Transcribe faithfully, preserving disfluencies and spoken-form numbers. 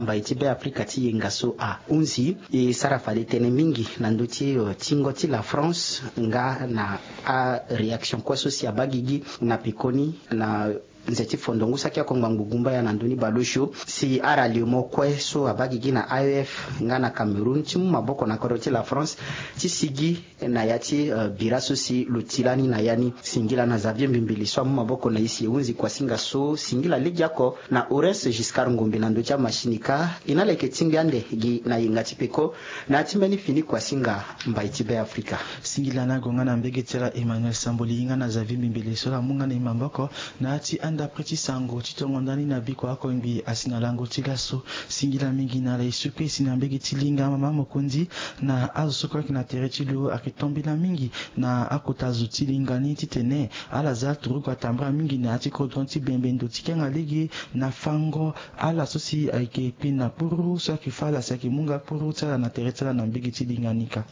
Mbai ti Be Afrika ti yenga so ahunzi e sara fade tënë mingi na ndö ti tingo ti la France nga na aréaction kue so si abaa gigi na pekoni na nze ti fondongu saki ako ngbangbo gumbaya na ndö ni baleosio si aralliement kue so abaa gigi na A E F nga na Cameroun ti mu maboko na kodro ti la France ti sigi na ya ti bira so si lo ti lani na ya ni. Singila na Xavier Mbimbili so amu maboko na e si e hunzi kuasinga so singila legeoko na Horace Giscard Ngombe na ndö ti amasini kâ. E na leke tingbi ande gi na yenga ti peko na ya ti mbeni fini kuasinga. Mbai ti Be Afrika. Singila na gonga na mbege ti ala Emmanuel Samboli nga na Xavier Mbimbili so la mu nga na e maboko na ya ti andapre ti sango ti tongo ndani na biko akongbi asi na lango ti laso. Singila mingi na ala e sukui si na mbege ti linga mama mokonzi na azo so kue ayeke na tere ti lo ayeke tombela mingi na akota zo ti linga ni titene ala za turugu atambara mingi na ya ti kodro ti bembe ndo ti kenga lege na fango ala so si ayeke kpe na kpuru so ayeke fâ ala si ayeke mu nga kpuru ti ala na tere ti ala na mbege ti linga ni kâ.